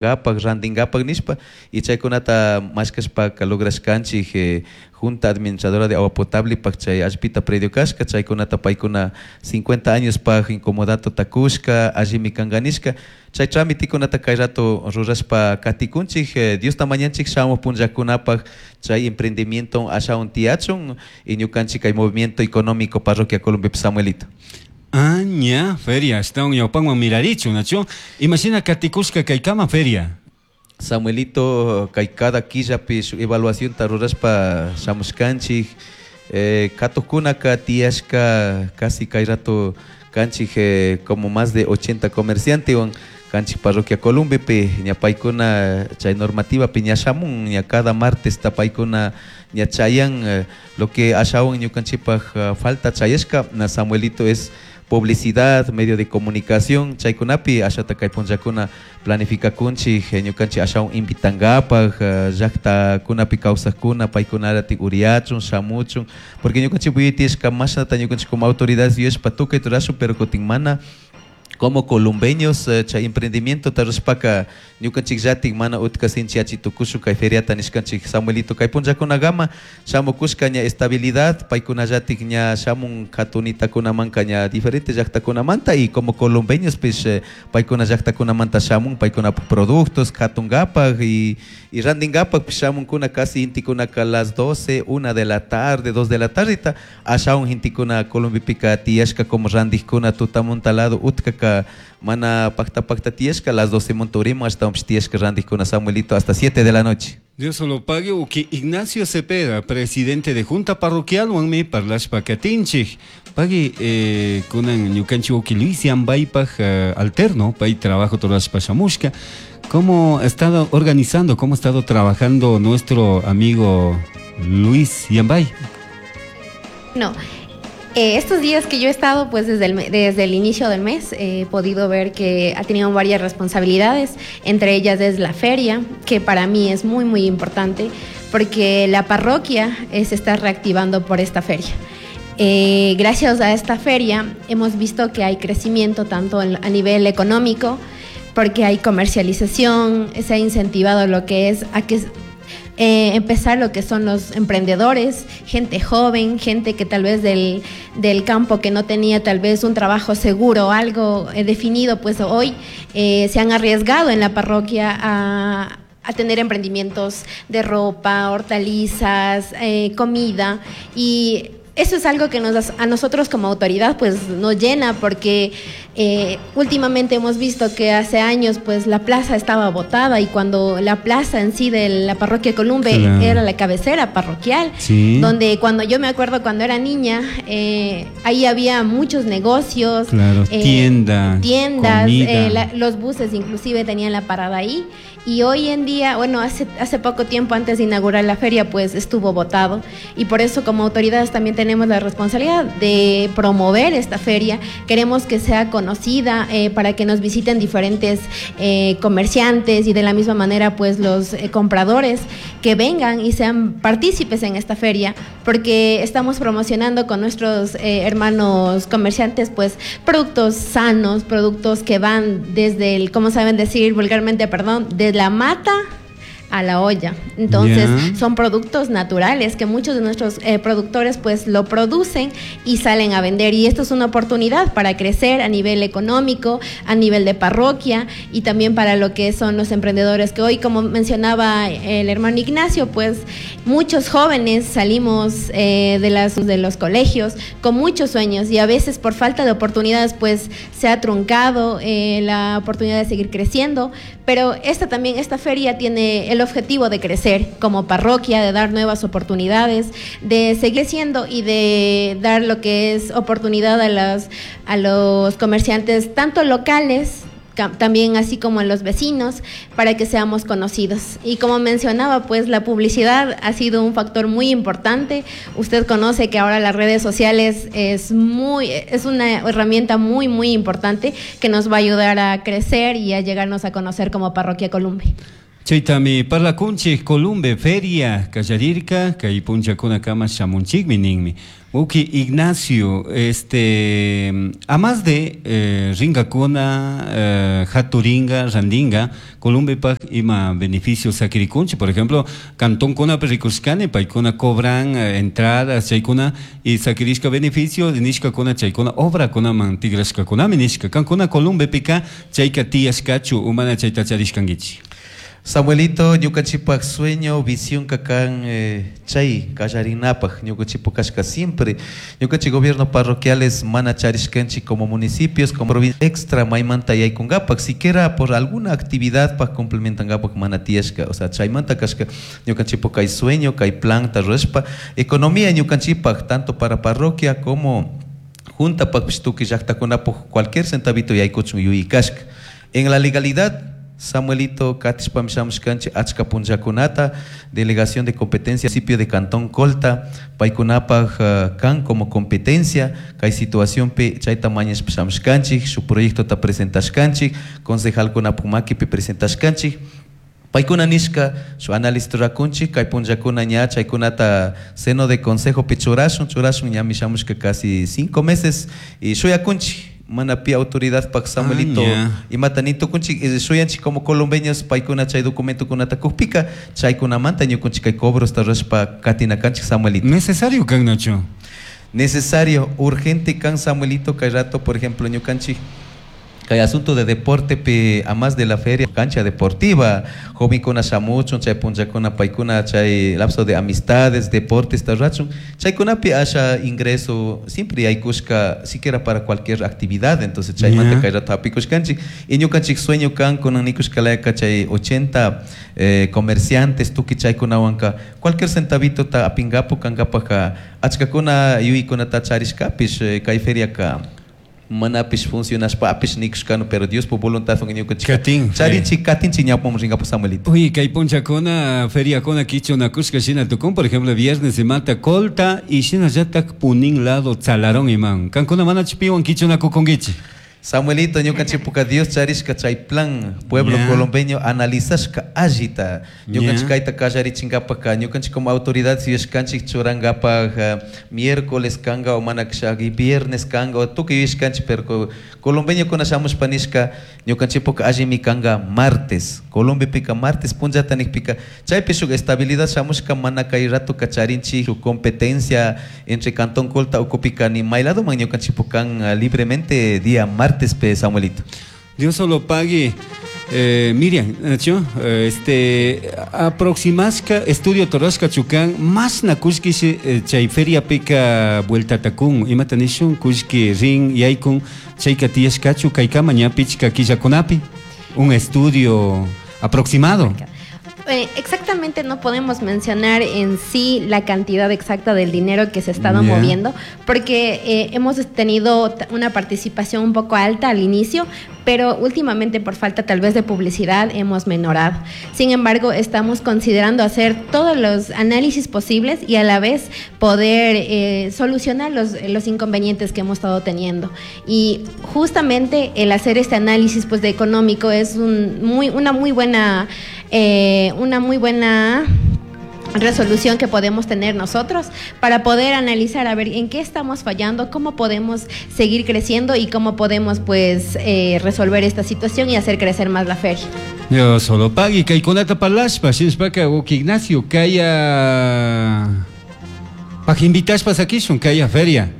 Gapak, randingapak nishpa y chaykunata mashkashpaka lograshkanchik Junta Administradora de Agua Potable pak chay allpita predio kashka, chaykunata paykuna 50 años pak incomodato takushka allimi kanka nishka, chay tramitikunata kay rato rurashpa katikunchik. Diosta mañanchik shamuq punllakunapak chay emprendimiento ashawan tiyachun y ñukanchik kay movimiento económico parroquia Columbepi, Samuelito. Ah, ña, feria, ashtawan ñawpanman mirarichun, nachu? Imashina katikushka kaykama feria? Samuelito, kay cada killapi shuk evaluacionta rurashpa shamushkanchik. Katukunaka tiyashka casi kay rato kanchik como más de 80 comerciantewan kanchik parroquia Columbepi. Ña paykuna chay normativapi ña shamun, ña cada martes ta paykuna ña chayan. Lo que ashawan ñukanchikpak falta chayashka, na Samuelito, es publicidad, medio de comunicación. Chaykunapi ashata kay punllakuna planificakunchik ñukanchik ashawan invitangapak llaktakunapi kawsakuna, paykunaratik uriachun shamuchun, porque ñukanchik tiyashka mashnata ñukanchik como autoridades yuyashpa tukuy rurashun, pero kutin mana como columbeños chay emprendimiento rurashpaka ñukanchik llatik mana utka sinchiyachi tukushun kay feriata nishkanchik, Samuelito. Kay punllakunakama shamukushka ña estabilidad, paykunallatik ña shamun katunitakunamanka ña diferentes llaktakunamanta, y como columbeños pues paykuna llaktakunamanta shamun paykunapak productos katungapak y randingapak shamunkuna. Casi intikunaka las 12, 1 de la tarde, 2 de la tarde ta ashawan gentekuna Columbepika tiyashka como randikuna. Tutamunta lado utkaka mana pakta pakta tiyashka, las 12 munta urimun, ashtawanpish tiyashka randikuna, Samuelito, hasta 7 de la noche. Dios lo pague, uki Ignacio Cepeda, presidente de Junta Parroquial, wanmi parlashpa katinchik. Pagui kunan ñukanchik uki Luis Yambaypaj alterno, pay trabajo rurashpa shamushka. ¿Cómo ha estado organizando, cómo ha estado trabajando nuestro amigo Luis Yambay? No, estos días que yo he estado, pues desde el inicio del mes, he podido ver que ha tenido varias responsabilidades, entre ellas es la feria, que para mí es muy, muy importante, porque la parroquia se está reactivando por esta feria. Gracias a esta feria hemos visto que hay crecimiento tanto a nivel económico, porque hay comercialización, se ha incentivado lo que es a que empezar lo que son los emprendedores, gente joven, gente que tal vez del campo que no tenía tal vez un trabajo seguro o algo definido, pues hoy se han arriesgado en la parroquia a tener emprendimientos de ropa, hortalizas, comida, y eso es algo que a nosotros como autoridad pues nos llena, porque últimamente hemos visto que hace años pues la plaza estaba botada, y cuando la plaza en sí de la parroquia Columbe era la cabecera parroquial, donde cuando yo me acuerdo cuando era niña, ahí había muchos negocios, tiendas, tiendas, los buses inclusive tenían la parada ahí. Y hoy en día, bueno, hace poco tiempo antes de inaugurar la feria, pues estuvo botado. Y por eso como autoridades también tenemos la responsabilidad de promover esta feria. Queremos que sea conocida para que nos visiten diferentes comerciantes y de la misma manera pues los compradores que vengan y sean partícipes en esta feria, porque estamos promocionando con nuestros hermanos comerciantes pues productos sanos, productos que van desde el, como saben decir vulgarmente, perdón, de la mata a la olla. Entonces, son productos naturales que muchos de nuestros productores pues lo producen y salen a vender. Y esto es una oportunidad para crecer a nivel económico, a nivel de parroquia y también para lo que son los emprendedores que hoy, como mencionaba el hermano Ignacio, pues muchos jóvenes salimos de los colegios con muchos sueños y a veces por falta de oportunidades pues se ha truncado la oportunidad de seguir creciendo, pero esta también, esta feria tiene el objetivo de crecer como parroquia, de dar nuevas oportunidades, de seguir creciendo y de dar lo que es oportunidad a los comerciantes, tanto locales, también así como a los vecinos, para que seamos conocidos. Y como mencionaba, pues la publicidad ha sido un factor muy importante. Usted conoce que ahora las redes sociales es una herramienta muy, muy importante que nos va a ayudar a crecer y a llegarnos a conocer como Parroquia Columbe. Chaytami parlakunchik Columbe feria kallarirka kay punchakunakama shamunchikmi ninmi. Uki Ignacio, a más de ringakuna, haturinga, randinga, Columbepaj ima beneficio sakirikunchik, por ejemplo, cantonkuna rikushkani, paykuna cobran entradas, chaykuna, y sakirishka beneficio, nishkakuna chaykuna obrakunaman tigrashkakunami nishka. Kankuna Columbepika chayka tiyashkachu umana chayta charishkankichik. Samuelito, ñukanchikpak sueño, visión kakan chay kallarinapaj ñukanchikpak kashka siempre ñukanchik gobierno parroquiales mana charishkanchik como municipios, como provincia extra maymanta yaykunkapak siquiera por alguna actividad pak complementankapak mana tiyashka, o sea, chaymanta kashka ñukanchikpak kay sueño, kay planta rurashpa economía ñukanchikpak tanto para parroquia como junta pakpish tukuy llaktakunapak cualquier centavito yaykuchun yuyikashka. En la legalidad, Samuelito, katishpami shamushkanchik achka punllakunata delegación de competencia municipio de Cantón Colta paykunapak kan como competencia kay situacionpi chayta mañashpa shamushkanchik shuk proyectota presentashkanchik concejalkunapak makipi presentashkanchik paykuna nishka shuk análisis rurakunchik kay punllakuna ña chaykunata seno de consejopi churashun churashun ñami shamushka casi 5 meses y shuyakunchik mana pi autoridad pak Samuelito imata ni tukunchik shuyanchik como colombeños paykuna chay documentokunata kukpika chaykunamanta ñukunchik kay cobrosta rurashpa katinakanchik, Samuelito. Necesario kan, Nacho. Necesario, urgente kan, Samuelito, kay rato, por ejemplo, ñukanchik kay asunto de deporte pi a más de la feria cancha deportiva jovenkuna shamuchun chay punllakuna paykuna chay lapso de amistades deportes rurachun chaykunapi asha ingreso siempre yaykushka siquiera para cualquier actividad. Entonces chaymanta kay rato hapikushkanchik y ñukanchik sueño kan kunan nikushkalayaka chay 80 comerciantes tukuy chaykunawanka cualquier centavito ta apingapu kankapaka achkakuna yuykunata charishkapish kay feriaka manapish funcionashpapish nikushkanu, pero Dios por voluntad ñukanchik Katin, charinchik katinchik ñawpaman rinkapu, Samuelito. Uy, kay punchakuna feriakuna kichunakushka shina tukun, por ejemplo, viernes imata Colta y shinallatak Punín lado Tsalarón iman. Kankuna manachu piwan kichunakukunkichik. Samuelito, ñukanchikpuka Dios charishka chay plan pueblo colombeño analizashka allita ñukanchik kayta kallarichinkapaka ñukanchik como autoridad yuyashkanchik churankapak miércoles kanga o mana kashaki viernes kanga o tukuy yuyashkanchik, pero colombeñokuna shamushpa nishka ñukanchikpuka allimi kanga martes Colombiapika martes punllata nikpika chaypi shuk estabilidad shamushka mana kay ratoka charinchik shuk competencia entre Cantón Colta ukupika ni may ladoman ñukanchikpuk kan libremente día martes pe, Samuelito. Dios solo pague. Miriam, Nacho, aproximaska estudio torashka chukan, mashna kullki chay feriapika vueltatakun, imata nishun, kullki rin, yaykun, chayka tiyashkachu, kaykama ña pichka killakunapi, un estudio aproximado. Exactamente no podemos mencionar en sí la cantidad exacta del dinero que se ha estado moviendo, porque hemos tenido una participación un poco alta al inicio, pero últimamente por falta tal vez de publicidad hemos menorado. Sin embargo, estamos considerando hacer todos los análisis posibles y a la vez poder solucionar los inconvenientes que hemos estado teniendo. Y justamente el hacer este análisis, pues, de económico es una muy buena resolución que podemos tener nosotros para poder analizar a ver en qué estamos fallando, cómo podemos seguir creciendo y cómo podemos, pues, resolver esta situación y hacer crecer más la feria. Dios solo pagui kaykunata parlashpa shinashpaka wawki Ignacio kaya pag invitashpa sakishun kaya feria.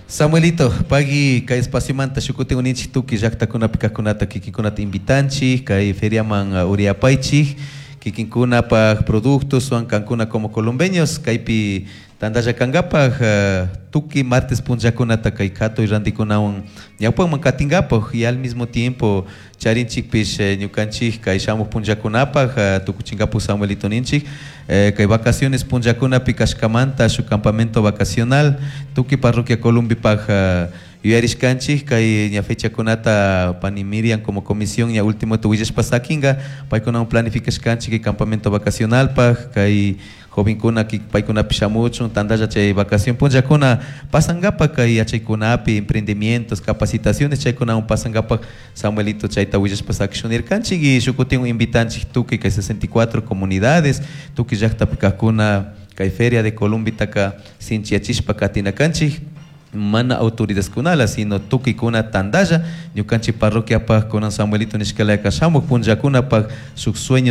Samuelito, pagui kay espaciomanta shukutin uninchik tukuy llaqtakunapi kaqkunata kikinkunata invitanchik kay feriaman uriyapaychik kikinkunapaq productos kankuna como colombeños kaypi tantalla kankapaq tukuy martes punllakunata kay katuy rantikunawan ñawpakman katinkapaq y al mismo tiempo charinchikpish ñukanchik kay shamuq punllakunapaq tukuchinkapuk, Samuelito, ninchik kay vacaciones punllakunapi kashkamanta shuk campamento vacacional tukuy parroquia Columbipaj. Yuyarishkanchik kay ña fechakunata pani Miriam como comisión ña último willashpa sakinga paykunawan planificashkanchik kay campamento vacacionalpaj kay jovenkuna paykunapish shamuchun tantalla chay vacación punllakuna pasankapak kay yachaykunapi emprendimientos capacitaciones chaykunawan pasankapak Samuelito chayta willashpa sakishun nirkanchik y shuk kutin invitanchik tukuy kay 64 comunidades tukuy llaktapi kajkuna kay feria de Columbitaka sinchiyachishpa katinakanchik mana autoridadkunala sino tukuykuna tantalla ñukanchik parroquiapaj kunan Samuelito nishkalaka shamuj punllakunapaj shuk sueño.